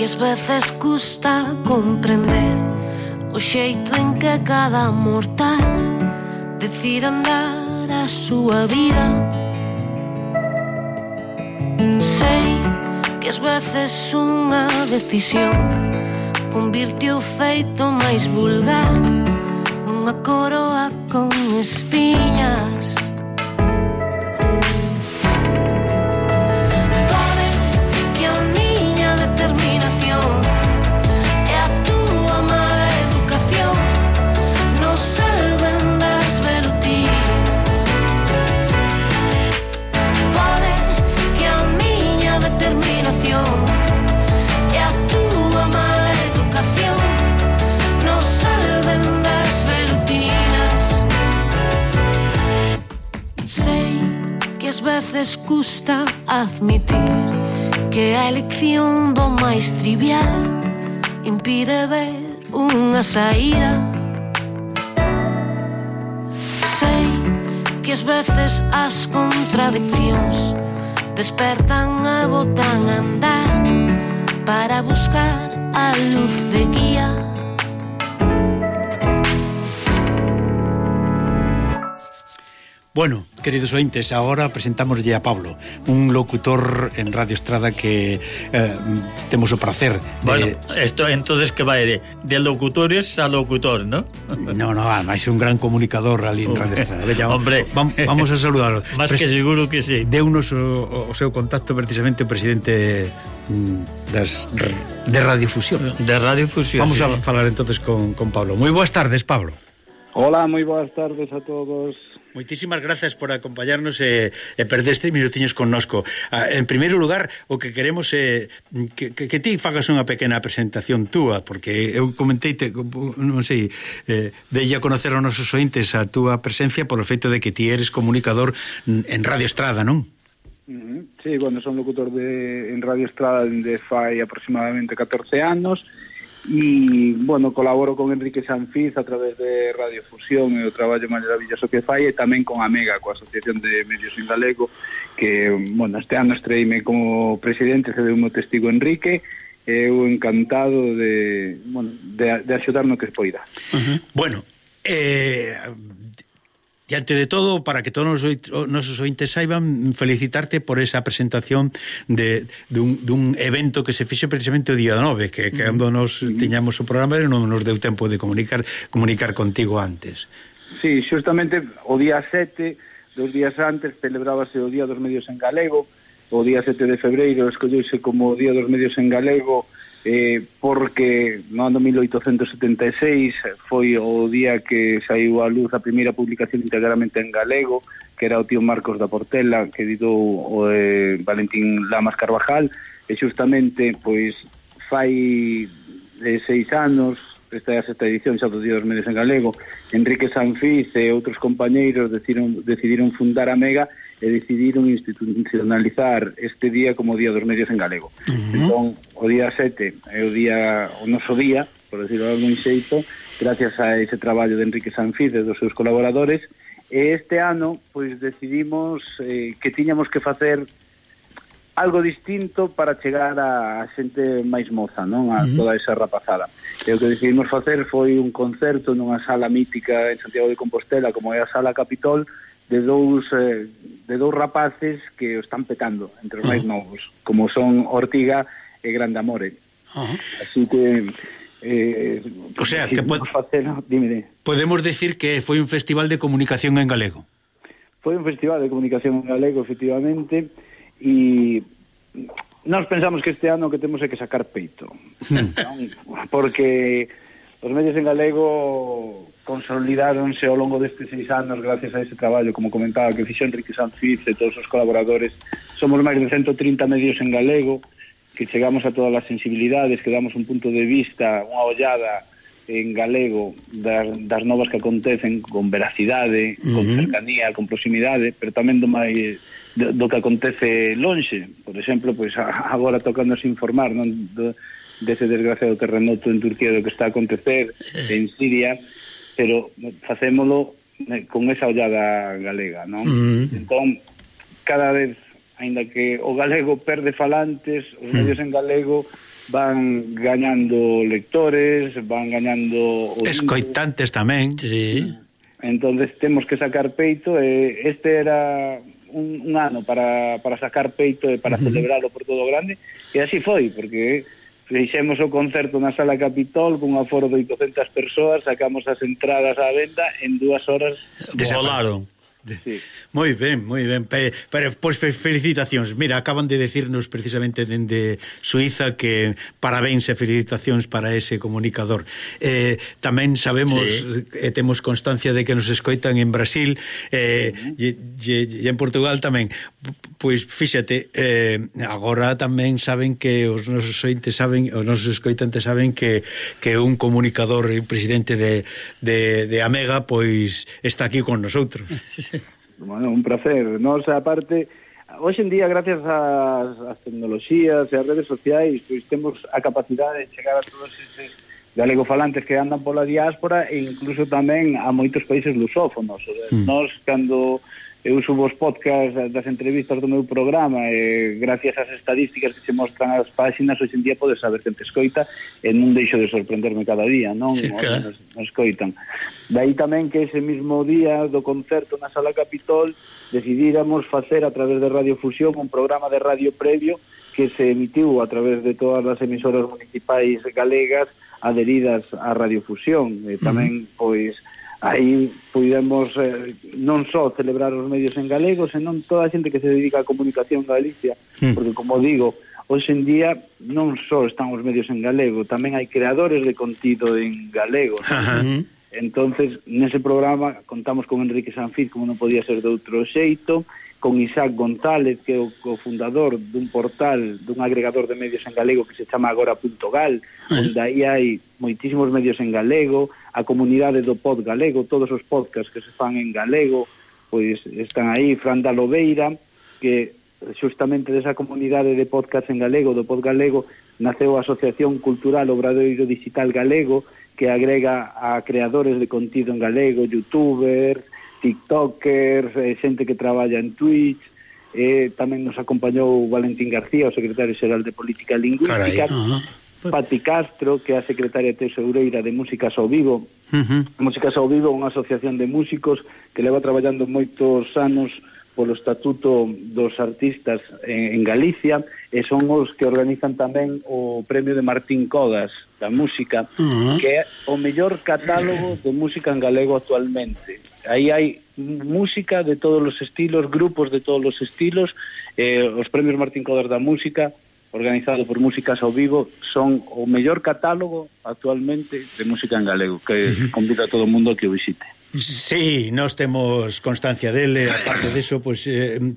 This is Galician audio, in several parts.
ás veces custa comprender o xeito en que cada mortal decide andar a súa vida. Sei que ás veces unha decisión convirte o feito máis vulgar nunha coroa con espiñas. Pode que a miña determinación e a túa mala educación nos salven das velutinas. Pode que a miña determinación e a túa mala educación nos salven das velutinas. Sei que ás veces custa admitir que a elección do máis trivial impide ver unha saída. Sei que ás veces as contradiccións despertan e botan a andar para buscar a luz de guía. Bueno, queridos ointes, agora presentámoslle a Pablo, un locutor en Radio Estrada que temos o placer de... Bueno, esto entonces que vai de locutores a locutor, ¿no? No, máis un gran comunicador ali en Radio Estrada. Veña, hombre, vamos a saludarlo. Más que seguro que sí. Deunos o seu contacto precisamente o presidente de Radiofusión. De Radiofusión. Vamos a falar entonces con Pablo. Moi boas tardes, Pablo. Hola, moi boas tardes a todos. Moitísimas grazas por acompañarnos e perder estes minutiños connosco. En primeiro lugar, o que queremos é que ti fagas unha pequena presentación túa, porque eu comenteite, non sei, delle a conocer aos nosos ointes a túa presencia polo feito de que ti eres comunicador en Radio Estrada, non? Sí, bueno, son locutor en Radio Estrada dende fai aproximadamente 14 anos. E, bueno, colaboro con Enrique Sanfiz a través de Radiofusión e o traballo maravilloso que fai, e tamén con Amega, coa Asociación de Medios en Galego, que, bueno, este ano estreime como presidente, se deu o testigo Enrique, e eu encantado de axudar no que poida. Bueno, diante de todo, para que todos os nosos ointes saiban, felicitarte por esa presentación dun evento que se fixe precisamente o día 9, que cando nos tiñamos o programa non nos deu tempo de comunicar contigo antes. Sí, justamente o día 7, 2 días antes, celebrábase o Día dos Medios en Galego. O día 7 de febreiro escolleuse como o Día dos Medios en Galego porque no ano 1876 foi o día que saiu a luz a primeira publicación integramente en galego, que era o tío Marcos da Portela, que editou o Valentín Lamas Carvajal, e xustamente pois fai 6 anos, esta é a sexta edición xa do Día dos Medios en Galego, Enrique Sanfiz e outros compañeiros decidiron fundar a Mega e decidiron institucionalizar este día como o Día dos Medios en Galego. Entón, o día 7 é o noso día, por decirlo de algún xeito, gracias a ese traballo de Enrique Sanfiz e dos seus colaboradores, e este ano, pois, decidimos que tiñamos que facer algo distinto para chegar a xente máis moza, non? A toda esa rapazada. E o que decidimos facer foi un concerto nunha sala mítica en Santiago de Compostela, como é a Sala Capitol, de dous rapaces que o están petando entre os máis novos, como son Ortiga e Grande Amore. Así que o sea, que podemos decir que foi un festival de comunicación en galego. Foi un festival de comunicación en galego, efectivamente, e nós pensamos que este ano que temos é que sacar peito, porque os medios en galego consolidáronse ao longo destes 6 anos gracias a ese traballo, como comentaba, que fixo Enrique Sanfiz e todos os colaboradores. Somos máis de 130 medios en galego, que chegamos a todas as sensibilidades, que damos un punto de vista, unha ollada en galego das novas que acontecen con veracidade, con cercanía, con proximidade, pero tamén do que acontece lonxe. Por exemplo, pois agora tocanos informar, non, dese desgraciado terremoto en Turquía, do que está a acontecer en Siria, pero facémolo con esa ollada galega, non? Entón, cada vez, aínda que o galego perde falantes, os medios en galego van gañando lectores, van gañando escoitantes tamén. Sí. Entonces temos que sacar peito, este era un ano para sacar peito e para celebrarlo por todo grande, e así foi, porque fixemos o concerto na Sala Capitol cun aforo de 800 persoas, sacamos as entradas á venda en 2 horas. Volaron. Sí. Moi ben, pero pois felicitacións. Mira, acaban de decirnos precisamente dende Suiza que parabéns e felicitacións para ese comunicador. Tamén sabemos e temos constancia de que nos escoitan en Brasil e en Portugal tamén. Pois fíxate, agora tamén saben que os nosos ointes saben, os nosos escoitantes saben que un comunicador e presidente de Amega pois está aquí con nosotros. Bueno, un placer. Nos, aparte, hoxe en día, gracias ás tecnoloxías e ás redes sociais, pois temos a capacidade de chegar a todos eses galegofalantes que andan pola diáspora e incluso tamén a moitos países lusófonos. Nos, cando eu subo os podcast das entrevistas do meu programa e gracias ás estadísticas que se mostran as páxinas, hoxe en día podes saber quen te escoita e non deixo de sorprenderme cada día, non? Sí, claro. Nos escoitan. Daí tamén que ese mismo día do concerto na Sala Capitol decidíramos facer a través de Radio Fusión un programa de radio previo que se emitiu a través de todas as emisoras municipais galegas adheridas á Radio Fusión. E tamén, pois, aí pudemos non só celebrar os medios en galego, senón toda a xente que se dedica á comunicación en Galicia, porque, como digo, hoxe en día non só están os medios en galego, tamén hai creadores de contido en galego, ¿no? Entonces, nese programa contamos con Enrique Sanfiz, como non podía ser de outro xeito, con Isaac González, que é o cofundador dun portal, dun agregador de medios en galego que se chama agora.gal, onde aí hai moitísimos medios en galego, a comunidade do Pod Galego, todos os podcasts que se fan en galego, pois están aí. Fran da Lobeira, que xustamente desa comunidade de podcast en galego, do Pod Galego, naceu a Asociación Cultural Obradoiro Digital Galego, que agrega a creadores de contido en galego, youtubers, tiktokers, xente que traballa en Twitch. Tamén nos acompañou Valentín García, o secretario xeral de Política Lingüística. Pati Castro, que é a secretaria tesoureira de Músicas ao Vivo. Músicas ao Vivo é unha asociación de músicos que leva traballando moitos anos polo Estatuto dos Artistas en Galicia, e son os que organizan tamén o premio de Martín Codas da música, que é o mellor catálogo de música en galego actualmente. Aí hai música de todos os estilos, grupos de todos os estilos. Os premios Martín Codas da música, organizado por Músicas ao Vivo, son o mellor catálogo actualmente de música en galego, que convido a todo o mundo a que o visite. Sí, nós temos constancia dele. Aparte deso, pois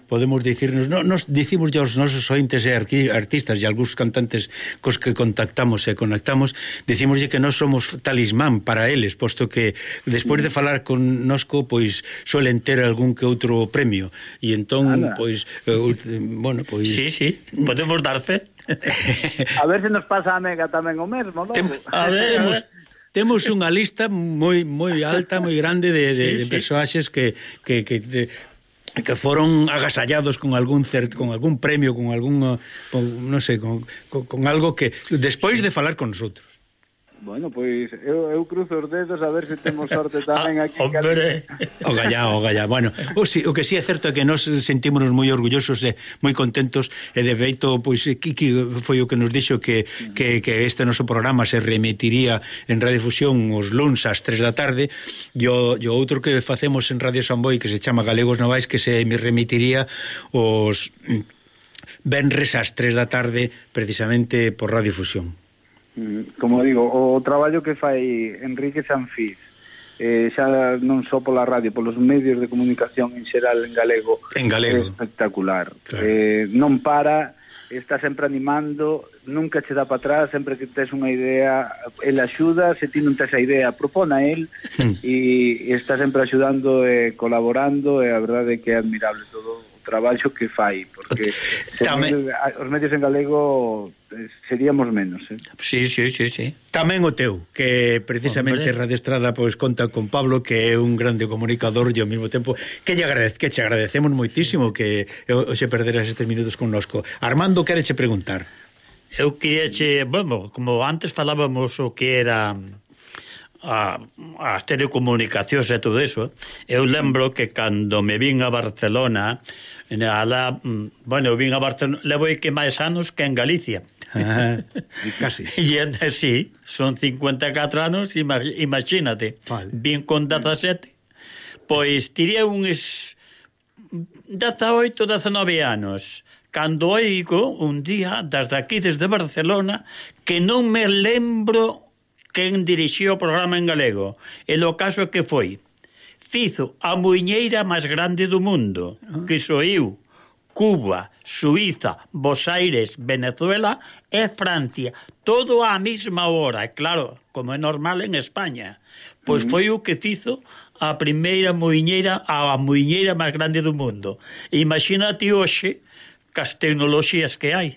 podemos dicirnos, nos dicimos aos nosos ointes e artistas e algúns cantantes cos que contactamos e conectamos, dicimoslle que nós somos talismán para eles, posto que despois de falar con nosco, pois suelen ter algún que outro premio, e entón, pois bueno, pois sí, podemos dar fe. A ver se nos pasa a Mega tamén o mesmo, non? A ver, temos unha lista moi alta, moi grande de persoaxes que foron agasallados con algún premio, con algún, non sei, con algo que despois de falar con nosotros. Bueno, pois eu cruzo os dedos a ver se temos sorte tamén aquí. Hombre. O gallá. Bueno, o que sí é certo é que nos sentímonos moi orgullosos e moi contentos, e de feito, pois Kiki foi o que nos dixo que este noso programa se remitiría en Radiofusión os luns ás 3 da tarde, e o outro que facemos en Radio Samboy, que se chama Galegos Novais, que se me remitiría os venres ás 3 da tarde, precisamente por Radiofusión. Como digo, o traballo que fai Enrique Sanfiz, xa non só pola radio, polos medios de comunicación en xeral en galego, é espectacular. Claro. Non para, está sempre animando, nunca che dá para atrás, sempre que tes unha idea, el axuda, se ti non tes a idea, propón a el, e está sempre axudando e colaborando, e a verdade é que é admirable todo o traballo que fai, porque os medios en galego seríamos menos, Sí. Tamén o teu, que precisamente Radio Estrada pois conta con Pablo, que é un grande comunicador, e ao mesmo tempo que che agradecemos moitísimo que hoxe perderas estes minutos connosco. Armando, quereche preguntar? Eu queria bueno, como antes falábamos o que era as telecomunicacións e todo eso, eu lembro que cando me vin a Barcelona, eu vin a Barcelona, levo que máis anos que en Galicia. Casi. E sí, son 54 anos, imagínate. Vale. Vin con 17, pois tiré uns 18, 19 anos, cando oigo un día desde aquí, desde Barcelona, que non me lembro quen dirixiu o programa en galego. E o caso que foi, fizo a muiñeira máis grande do mundo, que soiu Cuba, Suiza, Buenos Aires, Venezuela e Francia, todo á mesma hora, claro, como é normal en España. Pois foi o que fizo a primeira muiñeira, a muiñeira máis grande do mundo. Imagínate hoxe cas tecnoloxías que hai.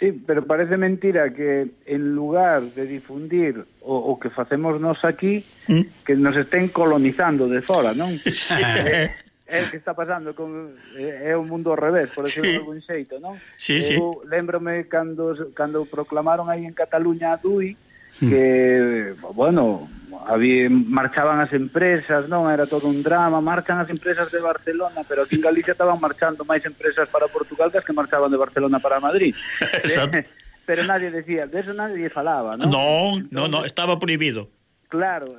Sí, pero parece mentira que en lugar de difundir o que facemos nós aquí, que nos estén colonizando de fora, non? Sí. É o que está pasando é o mundo ao revés, por decirlo de algún xeito, non? Sí, Eu lembrome cando proclamaron aí en Cataluña a DUI, que, bueno, marchaban as empresas, non? Era todo un drama, marchan as empresas de Barcelona, pero aquí en Galicia estaban marchando máis empresas para Portugal que as que marchaban de Barcelona para Madrid. Pero nadie decía, de eso nadie falaba, non? Non, estaba prohibido. Claro,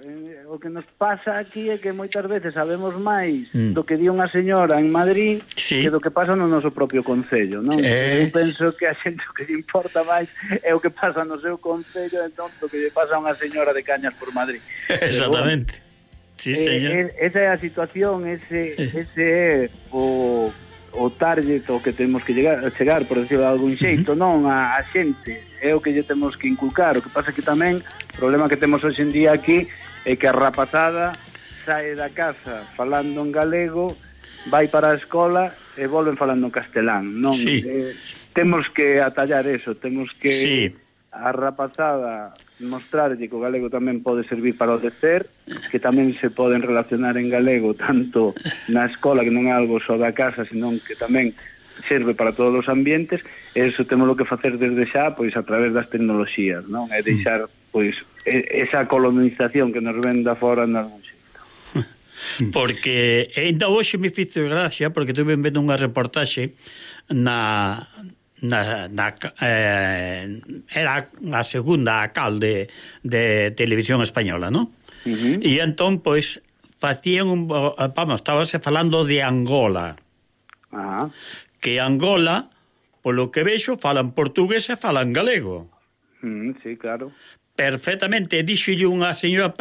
o que nos pasa aquí é que moitas veces sabemos máis do que di unha señora en Madrid que do que pasa no noso propio concello, non? Eu penso que a xente o que lle importa máis é o que pasa no seu concello, entón do que lle pasa a unha señora de Cañas por Madrid. Exactamente. Bueno, sí, señor. Esa é a situación, ese é o target o que temos que chegar, por decirlo de algún xeito, non a xente, é o que lle temos que inculcar. O que pasa que tamén o problema que temos hoxe en día aquí é que a rapazada sae da casa falando en galego, vai para a escola e volven falando en castelán, non? Sí. Temos que atallar eso, temos que a rapazada mostrarlle que o galego tamén pode servir para o decer, que tamén se poden relacionar en galego tanto na escola, que non é algo só da casa, senón que tamén serve para todos os ambientes, e iso temos que facer desde xa, pois a través das tecnoloxías, non? É deixar, pois, esa colonización que nos ven da fora en algún xeito. Porque ainda hoxe me fixo gracia, porque tuve vendo unha reportaxe era a segunda alcalde de televisión española, non? E entón, pois, facían estábase falando de Angola. Que Angola, polo que vexo, falan portugués e falan galego. Sí, claro. Perfectamente, dixolle unha señora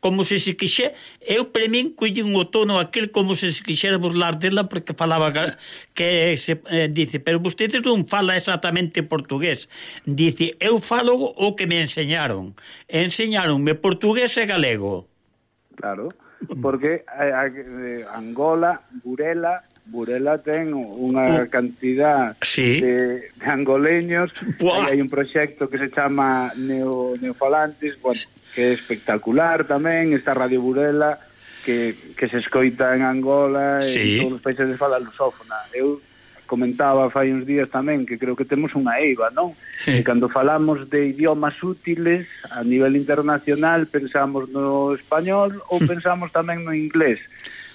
como se quixe, eu para min collín o tono aquel como se quixera burlar dela porque falaba que dice, pero vostedes non fala exactamente portugués. Dice, eu falo o que me enseñaronme portugués e galego. Claro, porque Angola, Burela ten unha cantidad de angoleños. Hai un proxecto que se chama Neofalantes, bueno, que é espectacular tamén. Está Radio Burela que se escoita en Angola e en todos os países de fala lusófona. Eu comentaba fai uns días tamén que creo que temos unha eiva, non? Que cando falamos de idiomas útiles a nivel internacional pensamos no español ou pensamos tamén no inglés,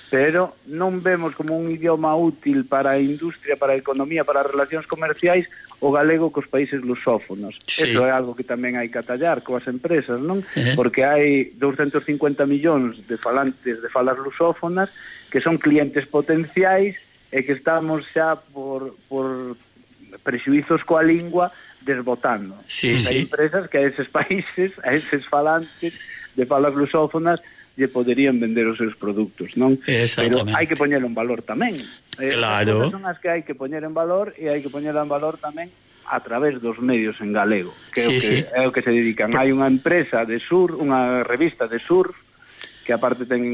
pero non vemos como un idioma útil para a industria, para a economía, para as relacións comerciais o galego cos países lusófonos. Eso é algo que tamén hai que atallar coas empresas, non? Porque hai 250 millóns de falantes de falas lusófonas que son clientes potenciais e que estamos xa por prexuizos coa lingua desbotando. Hai empresas que a eses países, a eses falantes de falas lusófonas lle poderían vender os seus produtos, non? Pero hai que poñer en valor tamén. Claro. Son as que hai que poñer en valor e hai que poñer en valor tamén a través dos medios en galego, que é o que se dedican. Hai unha empresa de surf, unha revista de surf, que aparte ten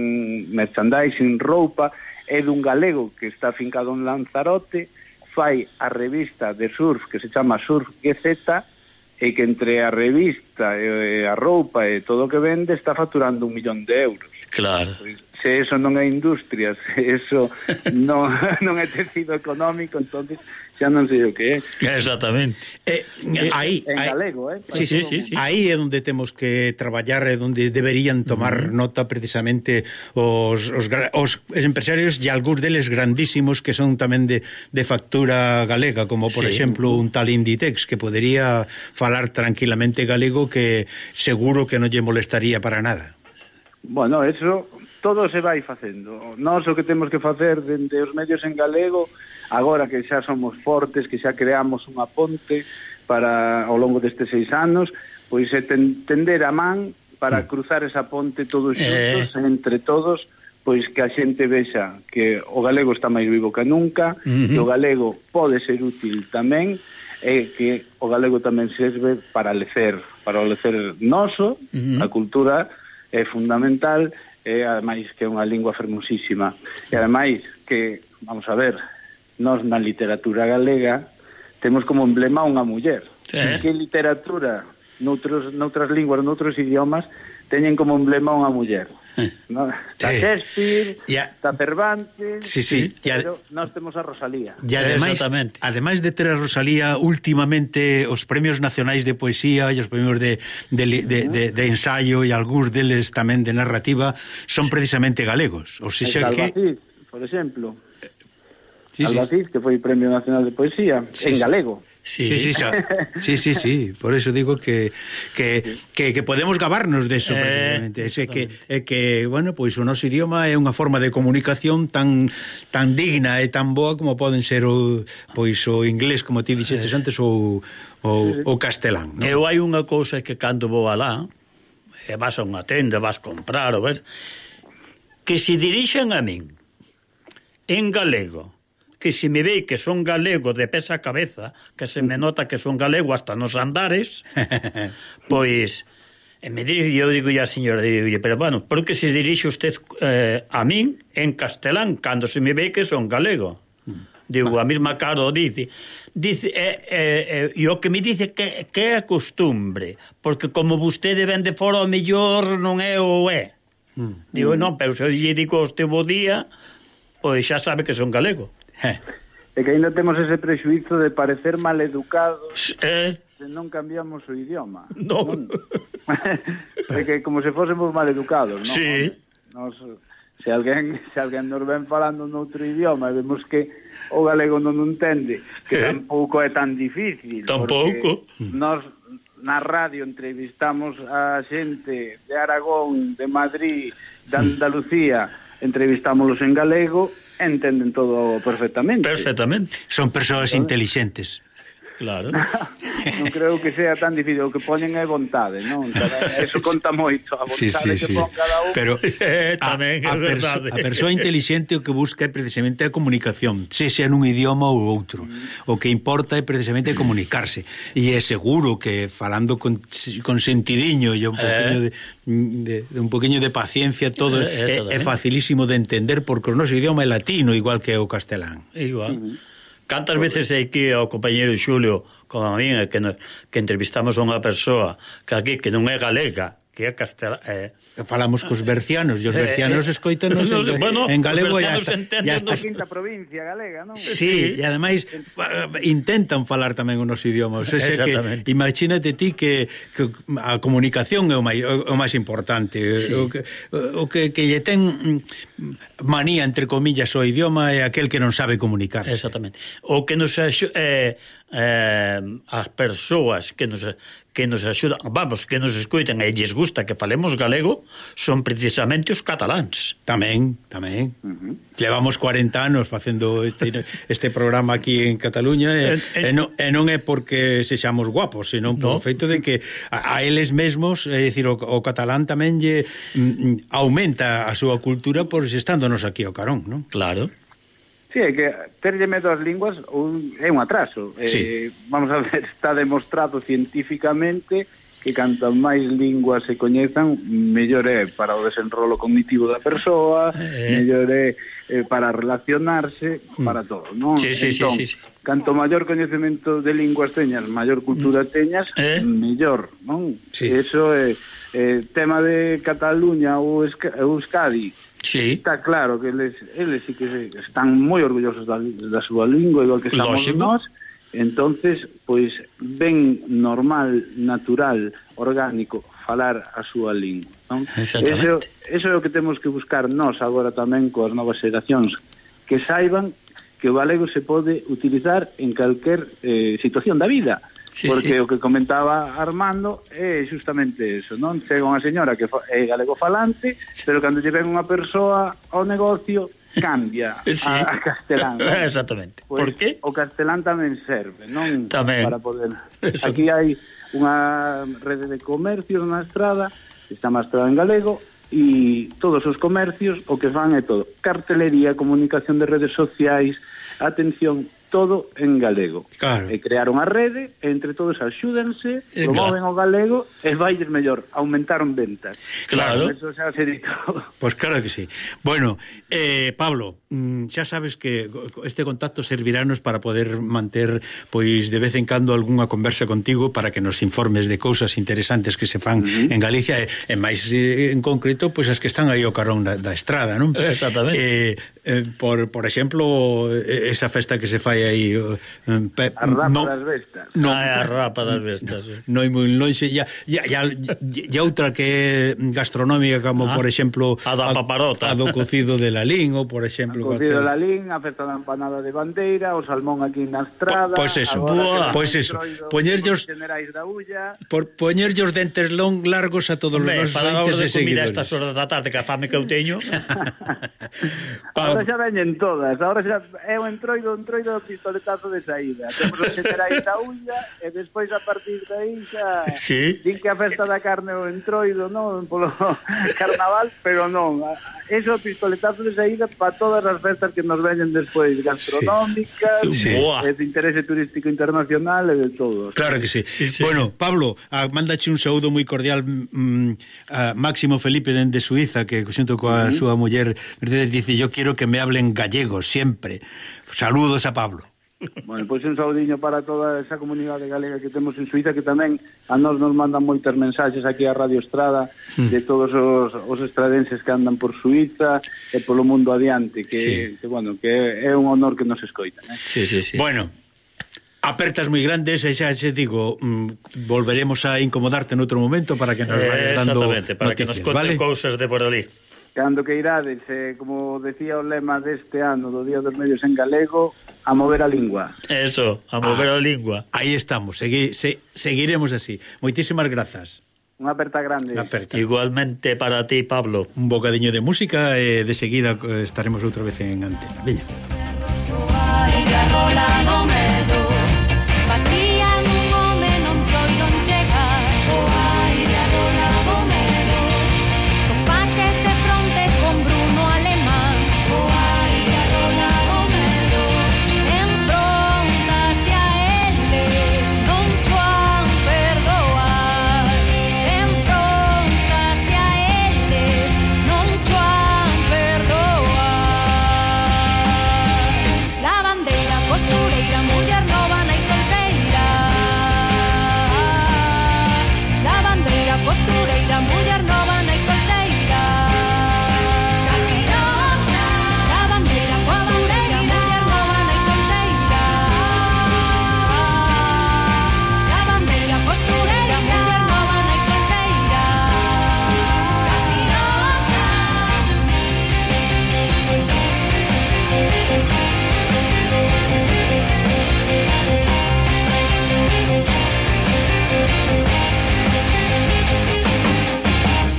merchandising, roupa, é dun galego que está fincado en Lanzarote, fai a revista de surf que se chama Surf GZ, e que entre a revista e a roupa e todo o que vende está facturando 1 millón de euros. Claro. Pois, se eso non é industria, se eso non é tecido económico, entonces xa non sei o que é. Exactamente. Aí en galego, Sí. Aí é onde temos que traballar, é onde deberían tomar nota precisamente os empresarios e algúns deles grandísimos que son tamén de factura galega, como por exemplo un tal Inditex que podería falar tranquilamente galego, que seguro que non lle molestaría para nada. Bueno, eso todo se vai facendo. Nós o que temos que facer dende os medios en galego, agora que xa somos fortes, que xa creamos unha ponte para ao longo destes 6 anos, pois é tender a man para cruzar esa ponte todos xuntos, entre todos, pois que a xente vexa que o galego está máis vivo que nunca, que o galego pode ser útil tamén, e que o galego tamén serve para o lecer noso, a cultura é fundamental, e ademais que é unha lingua fermosísima, e ademais que, vamos a ver, nós na literatura galega temos como emblema unha muller. Que literatura noutras linguas, noutros idiomas teñen como emblema unha muller, no? Está Shakespeare, está Cervantes, pero nós temos a Rosalía. E ademais de ter a Rosalía, últimamente os premios nacionais de poesía e os premios de ensayo e algúns deles tamén de narrativa son precisamente galegos. O sea que Albacid, por exemplo, Albacid, que foi Premio Nacional de Poesía en galego. Sí, por eso digo que podemos gabarnos de eso precisamente, que bueno, pois o noso idioma é unha forma de comunicación tan digna e tan boa como poden ser o inglés, como ti dixetes antes, ou castelán, non? Eu hai unha cousa que cando vou alá, e vas a unha tenda, vas comprar, ou ver, que se dirixen a min en galego, que se me ve que son galego de pés a cabeza, que se me nota que son galego hasta nos andares, pois me dirijo, eu digo a señora, pero bueno, por que se dirixe usted a min en castelán cando se me ve que son galego? Digo, a mesma cara o dice, e o que me dice que é a costumbre, porque como vostede ven de fora, o mellor non é o é. Digo, non, pero se eu lle digo este bo día, pois xa sabe que son galego. E que ainda temos ese prexuízo de parecer maleducados se non cambiamos o idioma. Non. É que como se fósemos maleducados, non? Sí. Se alguén nos ven falando noutro idioma e vemos que o galego non entende, que tampouco é tan difícil. Tampouco. Nós na radio entrevistamos a xente de Aragón, de Madrid, de Andalucía, entrevistámoslos en galego, entenden todo perfectamente. Son persoas intelixentes. Claro. Non creo que sea tan difícil, o que ponen é vontade, non? Eso conta moito, a vontade que pon cada un. Pero tamén é verdade. A persoa intelixente o que busca é precisamente a comunicación, sexa nun idioma ou outro. O que importa é precisamente comunicarse. E é seguro que falando con sentidiño e un poquinho de paciencia, todo é facilísimo de entender, porque o noso idioma é latino, igual que o castelán. Igual. Cantas veces aquí ao compañeiro Xulio, como a min, que entrevistamos a unha persoa que aquí que non é galega, que é castelán, falamos cos bercianos, e os bercianos escoítanos en galego e hasta a quinta provincia galega, non? Sí, e ademais intentan falar tamén o noso idioma. O sea, que imagínate ti que a comunicación é o máis importante. O que lle ten manía, entre comillas, o idioma é aquel que non sabe comunicarse. Exactamente. O que nos as persoas que nos axudan, vamos, que nos escoitan e lles gusta que falemos galego, son precisamente os cataláns. Tamén. Levamos 40 anos facendo este programa aquí en Cataluña e non é porque sexamos guapos, senón por o feito de que a eles mesmos, é dicir, o catalán tamén lle aumenta a súa cultura por estándonos aquí ao carón, non? Claro. Sí, é que terlle medo as linguas é un atraso. Vamos a ver, está demostrado científicamente que canto máis linguas se coñezan, mellor é para o desenrolo cognitivo da persoa, mellor é para relacionarse, para todo, non? Entón, canto maior coñecemento de linguas teñas, maior cultura teñas, mellor, non? Eso é tema de Cataluña ou Euskadi, Sí. Está claro que eles sí que están moi orgullosos da súa lingua, igual que estamos nós. Entonces, pois, ben normal, natural, orgánico, falar a súa lingua, non? Exactamente. Eso é o que temos que buscar nós agora tamén coas novas xeracións, que saiban que o galego se pode utilizar en calquer situación da vida. Sí, porque sí. O que comentaba Armando é justamente eso, non? Chega unha señora que é galego falante, pero cando lle ven unha persoa ao negocio, cambia sí. a castelán. ¿no? Exactamente. Pues, por qué? O castelán tamén serve, non? Tamén. Para poder... Aquí hai unha rede de comercios na estrada, está mostrada en galego, e todos os comercios o que fan é todo. Cartelería, comunicación de redes sociais, atención, todo en galego. Claro. E crearon a rede, e entre todos axúdense, promoven o galego e vailles mellor, aumentaron ventas. Claro. Eso xa se dito. Pues claro que sí. Bueno, Pablo, xa sabes que este contacto servirá-nos para poder manter, pois, de vez en cando algunha conversa contigo para que nos informes de cousas interesantes que se fan en Galicia e máis en concreto, pois as que están aí ao carón da estrada, non? Exactamente. Por exemplo, esa festa que se fai aí a rapa das vestas. A rapa das vestas. Non é moi lonxe, e outra que é gastronómica, como por exemplo a da paparota, a do cocido de Lalín, ou por exemplo o cocido de Lalín, a festa da empanada de bandeira, o salmón aquí na estrada. Pois eso, poñerllos os dentes largos a todos os nosos ointes e seguidores. Para a hora de comida estas horas da tarde, que a fame que eu teño. Ahora xa veñen todas, ahora xa é o entroido pistoletazo de saída. Temos os xenerais da ulla e despois a partir de aí xa din que a festa da carne o entroido, non? Polo carnaval, pero non. Eso pistoletazo de saída para todas as festas que nos veñen despois, gastronómicas, de interese turístico internacional e de todo. Claro que sí. Bueno, Pablo, mándache un saúdo moi cordial a Máximo Felipe dende Suiza, que xunto coa súa muller Mercedes dice, yo quiero que me hablen gallego siempre. Saludos a Pablo. Bueno, pois un saudiño para toda esa comunidade galega que temos en Suiza, que tamén a nos mandan moitas mensaxes aquí a Radio Estrada de todos os estradenses que andan por Suiza e polo mundo adiante, que bueno, que é un honor que nos escoitan, Sí. Bueno, apertas moi grandes e xa te digo, volveremos a incomodarte en outro momento para que nos vayas dando exactamente, para noticias, que nos conten cousas de por ali. Cando que irades, como decía o lema deste ano do Día dos Medios en galego, a mover a lingua. Eso, a mover a lingua. Aí estamos, seguiremos así. Moitísimas grazas. Unha aperta grande. Igualmente para ti, Pablo. Un bocadiño de música e de seguida estaremos outra vez en antena. Veña.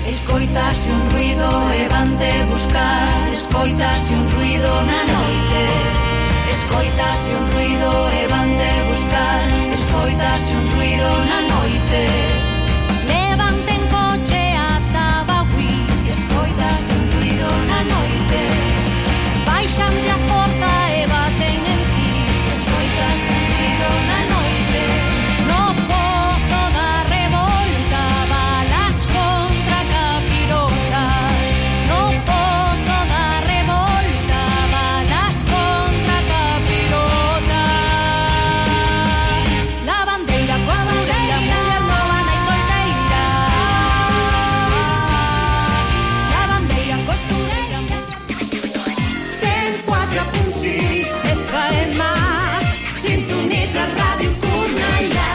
Escoitase un ruido e van te buscar, escoitase un ruido na noite.